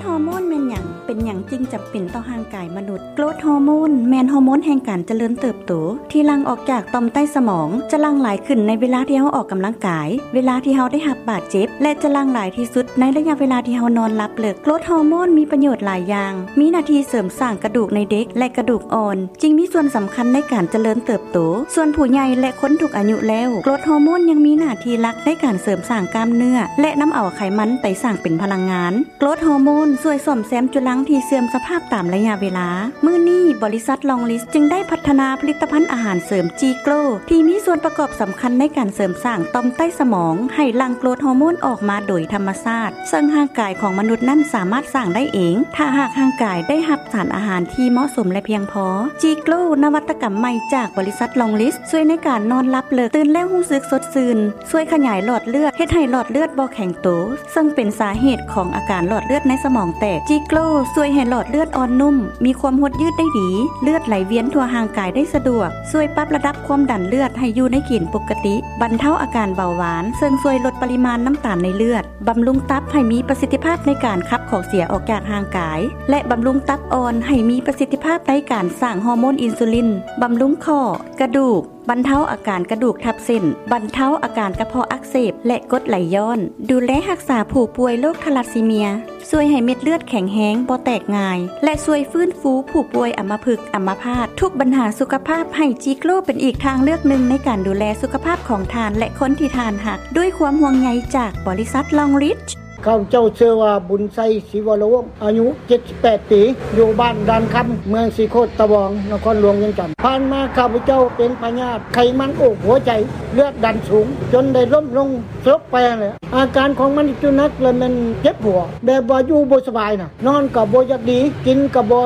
ຮໍໂມນແມ່ນຫຍັງ? ເປັນຫຍັງຈຶ່ງຈຳເປັນຕໍ່ຮ່າງກາຍມະນຸດ? ໂກຣດຮໍໂມນແມ່ນຮໍໂມນແຫ່ງການຈະເລີນເຕີບໂຕ ທີ່ຫຼັ່ງອອກຈາກຕ່ອມໃຕ້ສະໝອງ, ຈະຫຼັ່ງຫຼາຍຂຶ້ນໃນເວລາທີ່ເຮົາອອກກຳລັງກາຍ, ເວລາທີ່ເຮົາໄດ້ຮັບບາດເຈັບ ແລະ ຈະຫຼັ່ງຫຼາຍທີ່ສຸດໃນໄລຍະເວລາທີ່ເຮົານອນຫຼັບເລິກ. ໂກຣດຮໍໂມນມີປະໂຫຍດຫຼາຍຢ່າງ, ມີໜ້າທີ່ເສີມສ້າງກະດູກໃນເດັກ ແລະ ກະດູກອ່ອນ, ຈຶ່ງມີສ່ວນສຳຄັນໃນການຈະເລີນເຕີບໂຕ. ສ່ວນຜູ້ໃຫຍ່ ແລະ ຄົນທຸກອາຍຸແລ້ວ, ໂກຣດຮໍໂມນຍັງມີໜ້າທີ່ຫຼັກໃນການເສີມສ້າງກ້າມເນື້ອ ແລະ ນຳເອົາໄຂມັນໄປສ້າງເປັນພະລັງງານ. ໂກຣດຮໍໂມນຊ່ວຍສ້ອມແຊມຈຸລັງທີ່ເສື່ອມສະພາບຕາມໄລຍະເວລາ. ມື້ນີ້, ບໍລິສັດລອງລິດ ຈຶ່ງໄດ້ພັດທະນາຜະລິດຕະພັນອາຫານເສີມຈີໂກຣ ທີ່ມີສ່ວນປະກອບສຳຄັນໃນການເສີມສ້າງຕ່ອມໃຕ້ສະໝອງໃຫ້ຫຼັ່ງໂກຣດຮໍໂມນອອກມາໂດຍທຳມະຊາດ, ເຊິ່ງຮ່າງກາຍຂອງມະນຸດນັ້ນສາມາດສ້າງໄດ້ເອງ ຖ້າຫາກຮ່າງກາຍໄດ້ຮັບສານອາຫານທີ່ເໝາະສົມ ແລະ ພຽງພໍ. ຈີໂກຣ ນະວັດຕະກຳໃໝ່ຈາກບໍລິສັດລອງລິດ ຊ່ວຍໃນການນອນຫຼັບເລິກ, ຕື່ນແລ້ວຮູ້ສຶກສົດຊື່ນ, ຊ່ວຍຂະຫຍາຍຫຼອດເລືອດ, ເຮັດໃຫ້ຫຼອດເລືອດບໍ່ແຂງໂຕ, ເຊິ່ງເປັນສາເຫດຂອງອາການຫຼອດເລືອດໃນສະໝອງແຕກ. ຈີໂກຣຊ່ວຍໃຫ້ຫຼອດເລືອດອ່ອນນຸ້ມ, ມີຄວາມຫົດຍືດໄດ້ດີ, ເລືອດໄຫຼວຽນທົ່ວຮ່າງກາຍໄດ້ສະດວກ, ຊ່ວຍປັບລະດັບຄວາມດັນເລືອດໃຫ້ຢູ່ໃນເກນປົກກະຕິ, ບັນເທົາອາການເບົາຫວານ, ເຊິ່ງຊ່ວຍລົດປະລິມານນ້ຳຕານໃນເລືອດ, ບຳລຸງຕັບໃຫ້ມີປະສິດທິພາບໃນການຂັບຂອງເສຍອອກຈາກຮ່າງກາຍ ແລະ ບຳລຸງຕັບອ່ອນໃຫ້ມີປະສິດທິພາບໃນການສ້າງຮອໂມນອິນຊູລິນ, ບຳລຸງຂໍ້, ກະດູກ, ບັນເທົາອາການກະດູກທັບເສັ້ນ, ບັນເທົາອາການກະເພາະອັກເສບ ແລະ ກົດໄຫຼຍ້ອນ, ດູແລຮັກສາຜູ້ປ່ວຍໂລກທາລັດຊີເມຍ, ຊ່ວຍໃຫ້ເມັດເລືອດແຂງແຮງ, ບໍ່ແຕກງ່າຍ ແລະ ຊ່ວຍຟື້ນຟູຜູ້ປ່ວຍອຳມະພຶກ, ອຳມະພາດ, ທຸກບັນຫາສຸຂະພາບ, ໃຫ້ຈີໂກຣເປັນອີກທາງເລືອກໜຶ່ງໃນການດູແລສຸຂະພາບຂອງທ່ານ ແລະ ຄົນທີ່ທ່ານຮັກ, ດ້ວຍຄວາມຫ່ວງໃຍຈາກບໍລິສັດລອງລິດ. ຂ້າພະເຈົ້າຊື່ວ່າ ບຸນໄຊ ສີວະລະວົງ ອາຍຸເຈັດສິບແປດປີ ຢູ່ບ້ານດ່ານຄຳ ເມືອງສີໂຄດຕະບອງ ນະຄອນຫຼວງວຽງຈັນ. ຜ່ານມາຂ້າພະເຈົ້າເປັນພະຍາດໄຂມັນໂອກຫົວໃຈ ເລືອດດັນສູງ ຈົນໄດ້ລົ້ມລົງສະຫຼົບໄປຫັ້ນແຫຼະ. ອາການຂອງມັນທີ່ໜັກລະແມ່ນເຈັບຫົວ ແບບວ່າຢູ່ບໍ່ສະບາຍນະ, ນອນກໍບໍ່ຢາກດີ, ກິນກໍບໍ່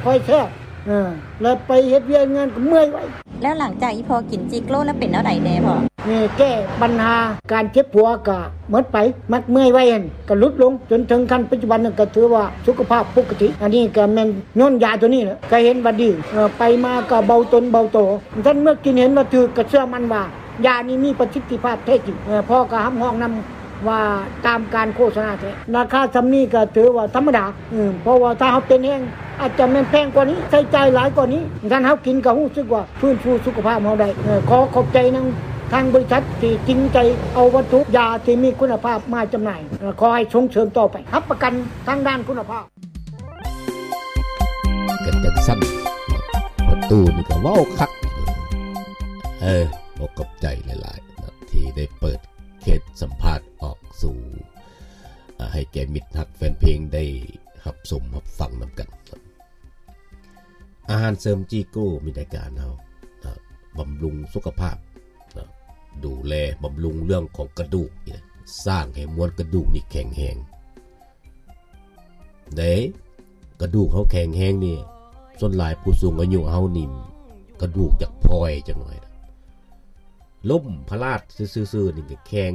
ຄ່ອຍແຊບ, ເອີ ແລະ ໄປເຮັດວຽກງານກໍເມື່ອຍໄວ. ແລ້ວຫຼັງຈາກອີ່ພໍ່ກິນຈີໂກຣແລ້ວເປັນແນວໃດແດ່ພໍ່? ນີ້ແກ້ບັນຫາການເຈັບຫົວກໍໝົດໄປ, ມັກເມື່ອຍໄວຫັ້ນກໍຫຼຸດລົງ, ຈົນເຖິງຂັ້ນປັດຈຸບັນນັ້ນກໍຖືວ່າສຸຂະພາບປົກກະຕິ. ອັນນີ້ກໍແມ່ນຍ້ອນຢາໂຕນີ້ແຫຼະ, ກໍເຫັນວ່າດີ, ເອີ ໄປມາກໍເບົາຕົນເບົາໂຕ. ທ່ານເມື່ອກິນເຫັນວ່າຖືກ, ກໍເຊື່ອໝັ້ນວ່າຢານີ້ມີປະສິດທິພາບແທ້ຈິງ. ເອີ ພໍ່ກໍຮັບຮອງນຳ ວ່າຕາມການໂຄສະນາແທ້. ລາຄາສ່ຳນີ້ກໍຖືວ່າທຳມະດາ, ເພາະວ່າຖ້າເຮົາເປັນແຮງ ອາດຈະແມ່ນແພງກວ່ານີ້, ໃຊ້ຈ່າຍຫຼາຍກວ່ານີ້, ຄັນເຮົາກິນກໍຮູ້ສຶກວ່າຟື້ນຟູສຸຂະພາບເຮົາໄດ້. ຂໍຂອບໃຈນຳທາງບໍລິສັດທີ່ຈິງໃຈເອົາວັດຖຸຢາທີ່ມີຄຸນນະພາບມາຈຳໜ່າຍ. ຂໍໃຫ້ສົ່ງເສີມຕໍ່ໄປ, ຮັບປະກັນທາງດ້ານຄຸນນະພາບ. ກັນຈັງຊັ້ນ, ພໍ່ຕູ້ນີ້ກໍເວົ້າຄັກ. ເອີ ຂໍຂອບໃຈຫຼາຍໆ ທີ່ໄດ້ເປີດ ເຂດສຳພາດອອກສູ່ ອາ ໃຫ້ແກ່ມິດຮັກແຟນເພງໄດ້ຮັບຊົມຮັບຟັງນຳກັນ. ອາຫານເສີມຈີໂກມີໃນການເຮົາ ອາ ບຳລຸງສຸຂະພາບ ອາ ດູແລບຳລຸງເລື່ອງຂອງກະດູກນີ້ນະ, ສ້າງໃຫ້ມວນກະດູກນີ້ແຂງແຮງ. ເດ້ ກະດູກເຮົາແຂງແຮງນີ້, ສ່ວນຫຼາຍຜູ້ສູງອາຍຸເຮົານີ້ ກະດູກຈະພອຍຈັກໜ້ອຍ, ລົ້ມພະລາດຊື່ໆນີ້ກໍແຂງ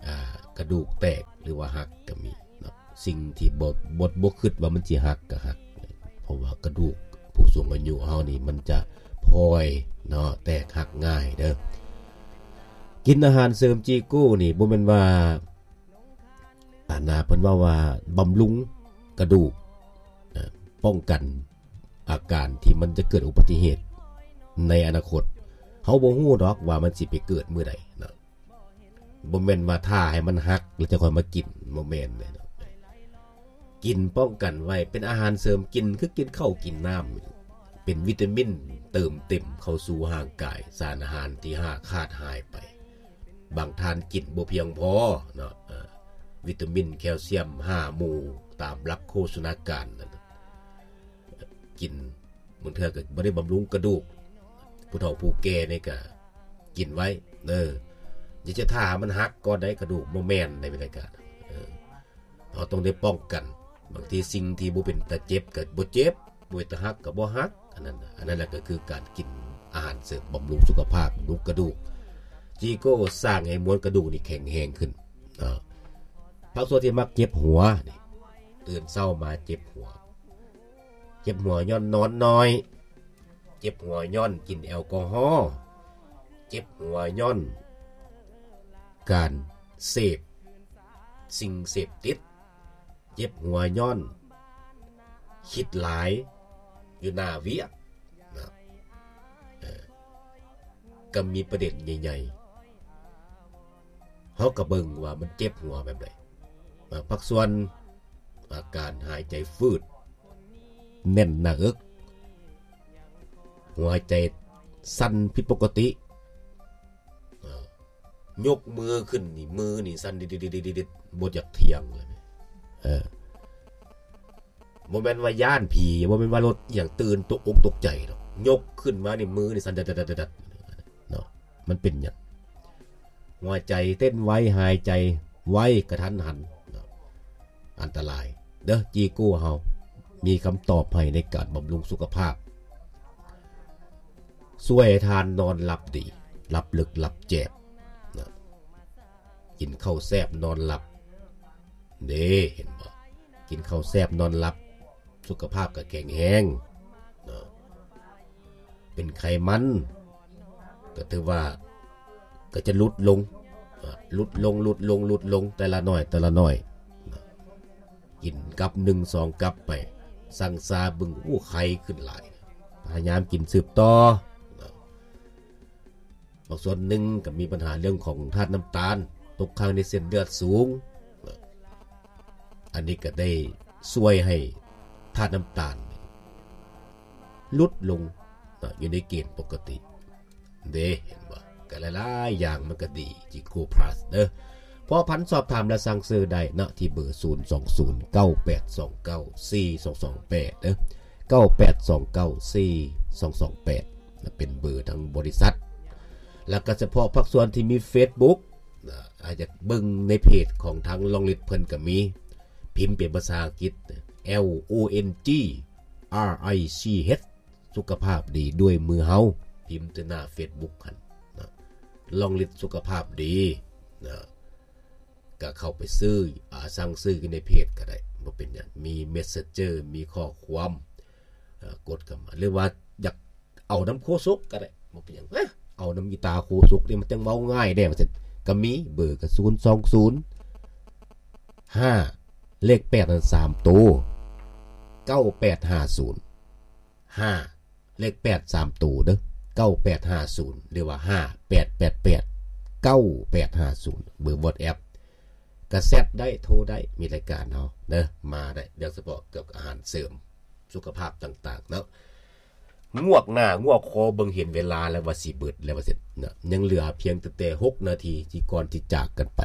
ອາ ກະດູກແຕກ ຫຼືວ່າຫັກກໍມີເນາະ. ສິ່ງທີ່ບໍ່ ບໍ່ ບໍ່ຄິດວ່າມັນຊິຫັກກໍຫັກ, ເພາະວ່າກະດູກຜູ້ສູງອາຍຸເຮົານີ້ມັນຈະພອຍເນາະ, ແຕກຫັກງ່າຍເດີ້. ກິນອາຫານເສີມຈີໂກນີ້ບໍ່ແມ່ນວ່າ ອາ ນາເພິ່ນເວົ້າວ່າບຳລຸງກະດູກ ປ້ອງກັນອາການທີ່ມັນຈະເກີດອຸບັດຕິເຫດໃນອະນາຄົດ. ເຮົາບໍ່ຮູ້ດອກວ່າມັນຊິໄປເກີດມື້ໃດເນາະ, ບໍ່ແມ່ນວ່າຖ້າໃຫ້ມັນຫັກແລ້ວຈະຄ່ອຍມາກິນ, ບໍ່ແມ່ນເດ້ເນາະ. ກິນປ້ອງກັນໄວ້, ເປັນອາຫານເສີມກິນ ຄືກິນເຂົ້າກິນນ້ຳ, ເປັນວິຕາມິນເຕີມເຕັມເຂົ້າສູ່ຮ່າງກາຍ, ສານອາຫານທີ່ຫາກຂາດຫາຍໄປ. ບາງທ່ານກິນບໍ່ພຽງພໍເນາະ, ເອີ ວິຕາມິນ ແຄວຊຽມ ຫ້າ ໝູ່ ຕາມຫຼັກໂພຊະນາການນັ້ນ ກິນ ບາງເທື່ອກໍບໍ່ໄດ້ບຳລຸງກະດູກ. ຜູ້ເຖົ້າຜູ້ແກ່ນີ້ກໍກິນໄວ້ເດີ, ຢ່າຈະຖ້າມັນຫັກກ່ອນໄດ໋ກະດູກ, ບໍ່ແມ່ນໃດ໋ ເອີ. ເຮົາຕ້ອງໄດ້ປ້ອງກັນ. ບາງທີສິ່ງທີ່ບໍ່ເປັນຕາເຈັບກໍບໍ່ເຈັບ, ບໍ່ເປັນຕາຫັກກໍບໍ່ຫັກ. ອັນນັ້ນ ອັນນັ້ນແຫຼະກໍຄືການກິນອາຫານເສີມບຳລຸງສຸຂະພາບ, ບຳລຸງກະດູກ. ຈີໂກສ້າງໃຫ້ມວນກະດູກນີ້ແຂງແຮງຂຶ້ນເນາະ. ພາກສ່ວນທີ່ມັກເຈັບຫົວນີ້, ຕື່ນເຊົ້າມາເຈັບຫົວ. ເຈັບຫົວຍ້ອນນອນໜ້ອຍ, ເຈັບຫົວຍ້ອນກິນແອລກໍຮໍ, ເຈັບຫົວຍ້ອນການເສບສິ່ງເສບຕິດ, ເຈັບຫົວຍ້ອນ ຄິດຫຼາຍຢູ່ໜ້າວຽກນະ ເອີ ກໍມີປະເດັນໃຫຍ່ໆ ເຮົາກໍເບິ່ງວ່າມັນເຈັບຫົວແບບໃດ. ພາກສ່ວນອາການຫາຍໃຈຝືດ, ແໜ້ນໜ້າເອິກ, ຫົວໃຈສັ່ນຜິດປົກກະຕິ, ຍົກມືຂຶ້ນນີ້ ມືນີ້ສັ່ນດິດໆໆໆ ບໍ່ຢາກທ່ຽງເລີຍ. ເອີ ບໍ່ແມ່ນວ່າຢ້ານຜີ, ບໍ່ແມ່ນວ່າລົດອີ່ຫຍັງຕື່ນຕົກອົກຕົກໃຈດອກ, ຍົກຂຶ້ນມານີ້ມືນີ້ສັ່ນດັດໆໆເນາະ. ມັນເປັນຫຍັງ? ຫົວໃຈເຕັ້ນໄວ, ຫາຍໃຈໄວ, ກະທັນຫັນເນາະ, ອັນຕະລາຍເດີ. ຈີໂກ້ເຮົາມີຄຳຕອບໃຫ້ໃນການບຳລຸງສຸຂະພາບ, ຊ່ວຍໃຫ້ທ່ານນອນຫຼັບດີ, ຫຼັບເລິກ, ຫຼັບແຈບເນາະ. ກິນເຂົ້າແຊບນອນຫຼັບເດ້ ເຫັນບໍ່? ກິນເຂົ້າແຊບນອນຫຼັບ ສຸຂະພາບກໍແຂງແຮງເນາະ. ເປັນໄຂມັນກໍຖືວ່າກໍຈະຫຼຸດລົງ ເນາະ, ຫຼຸດລົງ ຫຼຸດລົງ ຫຼຸດລົງ ແຕ່ລະໜ້ອຍ ແຕ່ລະໜ້ອຍເນາະ. ກິນກັບໜຶ່ງສອງກັບໄປ, ຊັ່ງຊາເບິ່ງ ໂອ້ ໄຄຂຶ້ນຫຼາຍ, ພະຍາຍາມກິນສືບຕໍ່ເນາະ. ບາງສ່ວນໜຶ່ງກໍມີບັນຫາເລື່ອງຂອງທາດນ້ຳຕານຕົກຄ້າງໃນເສັ້ນເລືອດສູງ, ອັນນີ້ກໍໄດ້ຊ່ວຍໃຫ້ທາດນ້ຳຕານຫຼຸດລົງ ເນາະ ຢູ່ໃນເກນປົກກະຕິເດ້ ເຫັນບໍ່? ກໍຫຼາຍໆຢ່າງມັນກໍດີ ຈີໂກພລັສເດີ. ພົວພັນສອບຖາມ ແລະ ສັ່ງຊື້ໄດ້ເນາະ ທີ່ເບີ ສູນສອງສູນ ເກົ້າແປດສອງເກົ້າ ສີ່ສອງສອງແປດ ເດີ ເກົ້າແປດສອງເກົ້າ ສີ່ສອງສອງແປດ ເປັນເບີທາງບໍລິສັດ. ແລ້ວກໍສະເພາະພາກສ່ວນທີ່ມີເຟສບຸກ ອາດຢາກເບິ່ງໃນເພຈຂອງທາງລອງລິດເພິ່ນກໍມີ, ພິມເປັນພາສາອັງກິດ L O N G R I C H ສຸຂະພາບດີດ້ວຍມືເຮົາ, ພິມທີ່ໜ້າເຟສບຸກຫັ້ນເນາະ ລອງລິດສຸຂະພາບດີເນາະ. ກໍເຂົ້າໄປຊື້ ອາ ສັ່ງຊື້ຢູ່ໃນເພຈກໍໄດ້ ບໍ່ເປັນຫຍັງ, ມີເມສເຊັນເຈີ ມີຂໍ້ຄວາມ ເອີ ກົດເຂົ້າມາ ຫຼືວ່າຢາກເອົານຳໂຄສົກກໍໄດ້ ບໍ່ເປັນຫຍັງ. ເອົານຳອີຕາໂຄສົກນີ້ມັນຈັ່ງເວົ້າງ່າຍແດ່ ວ່າຊັ້ນ. ກໍມີເບີກໍ ສູນສອງສູນ ຫ້າ ເລກແປດນັ້ນສາມໂຕ ເກົ້າແປດຫ້າສູນ ຫ້າ ເລກແປດສາມໂຕເດີ ເກົ້າແປດຫ້າສູນ ຫຼືວ່າ ຫ້າແປດແປດແປດ ເກົ້າແປດຫ້າສູນ ເບີວັອດແອັບ. ກະແຊັດໄດ້ ໂທໄດ້ ມີລາຍການເຮົາເດີ ມາໄດ້ ໂດຍສະເພາະກ່ຽວກັບອາຫານເສີມສຸຂະພາບຕ່າງໆເນາະ. ງວກໜ້າງວກຄໍເບິ່ງເຫັນເວລາແລ້ວວ່າຊິເບິດແລ້ວວ່າຊັ້ນເນາະ, ຍັງເຫຼືອພຽງແຕ່ຫົກນາທີທີ່ກ່ອນທີ່ຈາກກັນໄປ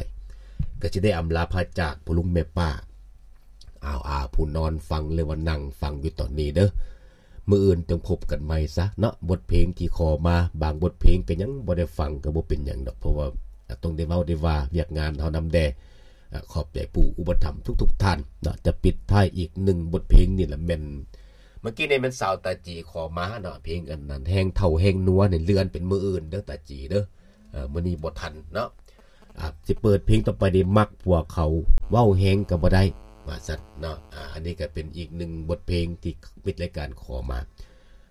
ກໍຊິໄດ້ອຳລາພາຈາກພໍ່ລຸງແມ່ປ້າ ອາວອາ ຜູ້ນອນຟັງ ຫຼືວ່ານັ່ງຟັງຢູ່ຕອນນີ້ເດີ. ມື້ອື່ນຈັ່ງພົບກັນໃໝ່ຊະເນາະ. ບົດເພງທີ່ຂໍມາ ບາງບົດເພງກໍຍັງບໍ່ໄດ້ຟັງ ກໍບໍ່ເປັນຫຍັງດອກ ເພາະວ່າຕ້ອງໄດ້ເວົ້າໄດ້ວ່າວຽກງານເຮົານຳແດ່. ອາ ຂອບໃຈຜູ້ອຸປະຖຳທຸກໆທ່ານເນາະ. ຈະປິດທ້າຍອີກໜຶ່ງບົດເພງນີ້ລະແມ່ນ ເມື່ອກີ້ນີ້ແມ່ນສາວຕາຈີຂໍມາເນາະ, ເພງອັນນັ້ນ ແຮງເຖົ້າແຮງນົວນີ້ ເລື່ອນເປັນມື້ອື່ນເດີຕາຈີເດີ. ເອີ ມື້ນີ້ບໍ່ທັນເນາະ. ອາ ຊິເປີດເພງຕໍ່ໄປນີ້ ມັກພວກເຂົາເວົ້າແຮງກໍບໍ່ໄດ້ ວ່າຊັ້ນເນາະ. ອາ ອັນນີ້ກໍເປັນອີກໜຶ່ງບົດເພງທີ່ມິດລາຍການຂໍມາ.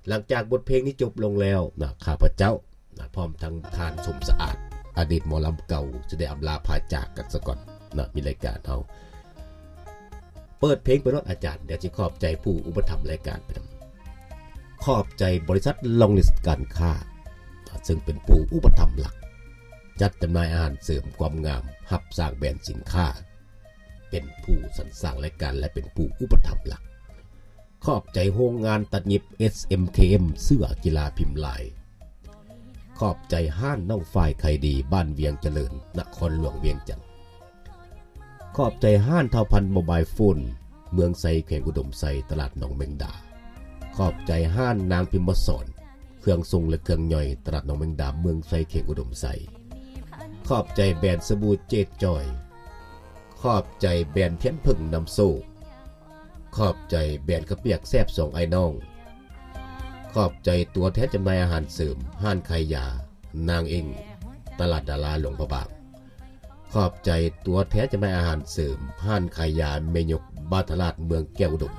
ຫຼັງຈາກບົດເພງນີ້ຈົບລົງແລ້ວເນາະ, ຂ້າພະເຈົ້າ ນະ ພ້ອມທັງທ່ານສົມສະອາດ ອະດີດໝໍລຳເກົ່າ ຈະໄດ້ອຳລາພາຈາກກັນສະກ່ອນເນາະ. ມີລາຍການເຮົາເປີດເພງໄປໂລດອາຈານ, ດຽວຊິຂອບໃຈຜູ້ອຸປະຖຳລາຍການໄປນຳ. ຂອບໃຈບໍລິສັດລອງລິດການຄ້າ ເຊິ່ງເປັນຜູ້ອຸປະຖຳຫຼັກ ຈັດຈຳໜ່າຍອາຫານເສີມຄວາມງາມ, ຮັບສ້າງແບຣນສິນຄ້າ, ເປັນຜູ້ສັນສ້າງລາຍການ ແລະ ເປັນຜູ້ອຸປະຖຳຫຼັກ. ຂອບໃຈໂຮງງານຕັດຫຍິບ ເອສເອັມເຄເອັມ ເສື້ອກິລາພິມລາຍ. ຂອບໃຈຮ້ານນ້ອງຝ້າຍໄຂ່ດີ ບ້ານວຽງຈະເລີນ ນະຄອນຫຼວງວຽງຈັນ. ຂອບໃຈຮ້ານທ້າວພັນໂມບາຍໂຟນ ເມືອງໄຊ ແຂວງອຸດົມໄຊ ຕະຫຼາດໜອງແມງດາ. ຂອບໃຈຮ້ານນາງພິມມະສອນ ເຄື່ອງຊົງ ແລະ ເຄື່ອງຍ່ອຍ ຕະຫຼາດໜອງແມງດາ ເມືອງໄຊ ແຂວງອຸດົມໄຊ. ຂອບໃຈແບຣນສະບູເຈດຈອຍ. ຂອບໃຈແບຣນທຽນເຜິ້ງນຳໂຊກ. ຂອບໃຈແບຣນເຂົ້າປຽກແຊບສອງອ້າຍນ້ອງ. ຂອບໃຈຕົວແທນຈຳໜ່າຍອາຫານເສີມ ຮ້ານຂາຍຢານາງເອັງ ຕະຫຼາດດາລາ ຫຼວງພະບາງ. ຂອບໃຈຕົວແທນຈຳໜ່າຍອາຫານເສີມ ຮ້ານຂາຍຢາແມ່ຍົກ ບ້ານຕະຫຼາດ ເມືອງແກ້ວອຸດົມ.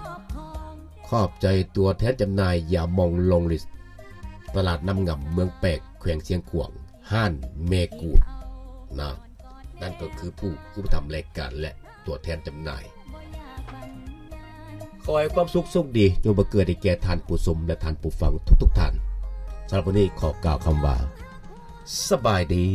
ຂອບໃຈຕົວແທນຈຳໜ່າຍຢາໝອງລອງລິດ ຕະຫຼາດນ້ຳງຳ ເມືອງແປກ ແຂວງຊຽງຂວາງ ຮ້ານແມ່ກູດນະ. ນັ້ນກໍຄືຜູ້ອຸປະຖຳລາຍການ ແລະ ຕົວແທນຈຳໜ່າຍ. ຂໍໃຫ້ຄວາມສຸກໂຊກດີຈົ່ງບັງເກີດໃຫ້ແກ່ທ່ານຜູ້ຊົມ ແລະ ທ່ານຜູ້ຟັງທຸກໆທ່ານ. ສຳລັບມື້ນີ້ຂໍກ່າວຄຳວ່າ ສະບາຍດີ.